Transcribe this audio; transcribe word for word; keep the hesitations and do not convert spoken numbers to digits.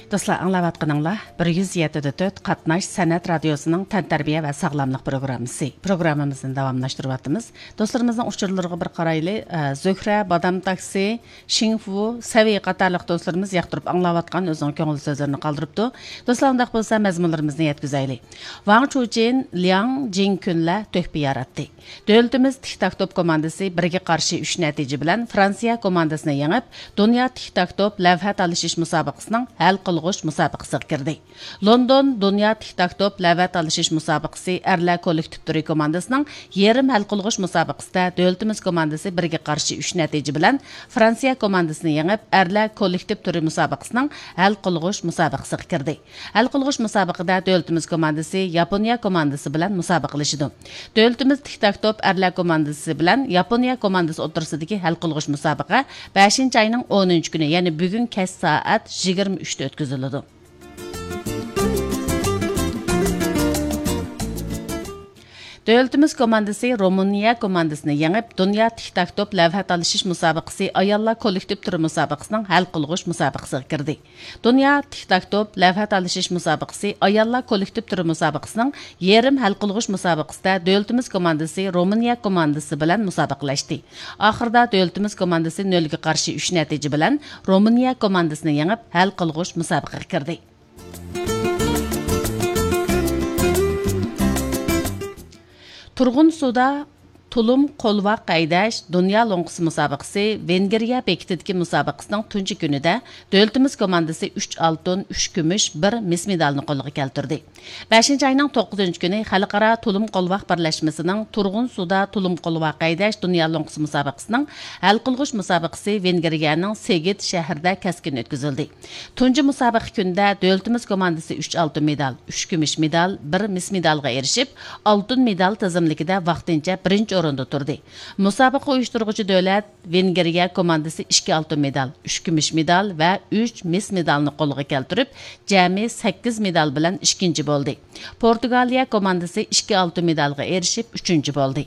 دوستلار، ئاڭلاۋاتقىنىڭلار بىر يۈز يەتتە دە تۆت قاتناش سەنئەت رادىيوسىنىڭ تەنتەربىيە ۋە ساغلاملىق پروگراممىسى. پروگراممىمىزنى داۋاملاشتۇرۇۋاتىمىز. دوستلىرىمىزنىڭ ئۇچۇرلىرىغا بىر قارايلى. ئە، زۆھرە، بادام تاكسى، شىڭفۇ، سەۋى قاتارلىق دوستلىرىمىز ياقتۇرۇپ ئاڭلاۋاتقان ئۆزىنىڭ كۆڭۈل سۆزلىرىنى قالدۇرۇپتۇ. دوستلار، ئۇنداق بولسا مەزمۇنلىرىمىزنى يەتكۈزەيلى. ۋاڭ چۇچىن، لياڭ جىڭكۈنلەر تۆھپە ياراتتى. دۆلىتىمىز تىك تاك توپ كوماندىسى بىرگە قارشى ئۈچ نەتىجە بىلەن فرانسىيە كوماندىسىنى يېڭىپ، دۇنيا تىك تاك توپ لەۋھە تالىشىش مۇسابىقىسىنىڭ ھەل قىلغۇچ مۇسابىقىسىغا كىردى. لوندون دۇنيا تىك تاك توپ لەۋھە تالىشىش مۇسابىقىسى ئەرلەر كوللېكتىپ تۈرى كوماندىسىنىڭ يېرىم ھەل قىلغۇچ مۇسابىقىسىدە دۆلىتىمىز كوماندىسى بىرگە قارشى ئۈچ نەتىجە بىلەن فرانسىيە كوماندىسىنى يېڭىپ، ئەرلەر كوللېكتىپ تۈرى مۇسابىقىسىنىڭ ھەل قىلغۇچ مۇسابىقىسىغا كىردى. ھەل قىلغۇچ مۇسابىقىدە دۆلىتىمىز كوماندىسى ياپونىيە كوماندىسى بىلەن مۇسابىقىلىشىدۇ. دۆلىتىمىز تىك تاك توپ ئەرلەر كوماندىسى بىلەن ياپونىيە كوماندىسى ئوتتۇرىسىدىكى ھەل قىلغۇچ مۇسابىقە بەشىنچى ئاينىڭ ئونىنچى كۈنى، يەنى بۈگۈن كەچ سائەت يىگىرمە ئۈچتە ئۆتكۈزۈلىدۇ. دۆلىتىمىز كوماندىسى رومىنىيە كوماندىسىنى يېڭىپ، دۇنيا تىك تاك توپ لەۋھە تالىشىش مۇسابىقىسى ئاياللار كوللېكتىپ تۈرى مۇسابىقىسىنىڭ ھەل قىلغۇچ مۇسابىقىسىغا كىردى. دۇنيا تىك تاك توپ لەۋھە تالىشىش مۇسابىقىسى ئاياللار كوللېكتىپ تۈرى مۇسابىقىسىنىڭ يېرىم ھەل قىلغۇچ مۇسابىقىسىدە دۆلىتىمىز كوماندىسى رومىنىيە كوماندىسى بىلەن مۇسابىقىلەشتى. ئاخىرىدا دۆلىتىمىز كوماندىسى نۆلگە قارشى ئۈچ نەتىجە بىلەن رومىنىيە كوماندىسىنى يېڭىپ، ھەل قىلغۇچ مۇسابىقىگە كىردى. تۇرغۇن سۇدا تۇلۇم قولۋاق ھەيدەش دۇنيا لوڭقىسى مۇسابىقىسى ۋېنگرىيە بېكىتىدىكى مۇسابىقىسىنىڭ تۇنجى كۈنىدە دۆلىتىمىز كوماندىسى ئۈچ ئالتۇن، ئۈچ كۈمۈش، بىر مىس مېدالنى قولغا كەلتۈردى. بەشىنچى ئاينىڭ توققۇزىنچى كۈنى خەلقئارا تۇلۇم قولۋاق بىرلەشمىسىنىڭ تۇرغۇن سۇدا تۇلۇم قولۋاق ھەيدەش دۇنيا لوڭقىسى مۇسابىقىسىنىڭ ھەل قىلغۇچ مۇسابىقىسى ۋېنگرىيەنىڭ سېگېد شەھىرىدە كەسكىن ئۆتكۈزۈلدى. تۇنجى مۇسابىقە كۈنىدە دۆلىتىمىز كوماندىسى ئۈچ ئالتۇن مېدال، ئۈچ كۈمۈش مېدال، بىر مىس مېدالغا ئېرىشىپ، ئالتۇن مېدال تىزىملىكىدە ۋاقتىنچە بىرىنچى ئورۇندا تۇردى. مۇسابىقە ئۇيۇشتۇرغۇچى دۆلەت ۋېنگرىيە كوماندىسى ئىككى ئالتۇن مېدال، ئۈچ كۈمۈش مېدال ۋە ئۈچ مىس مېدالنى قولغا كەلتۈرۈپ، جەمئىي سەككىز مېدال بىلەن ئىككىنچى بولدى. پورتۇگالىيە كوماندىسى ئىككى ئالتۇن مېدالغا ئېرىشىپ، ئۈچىنچى بولدى.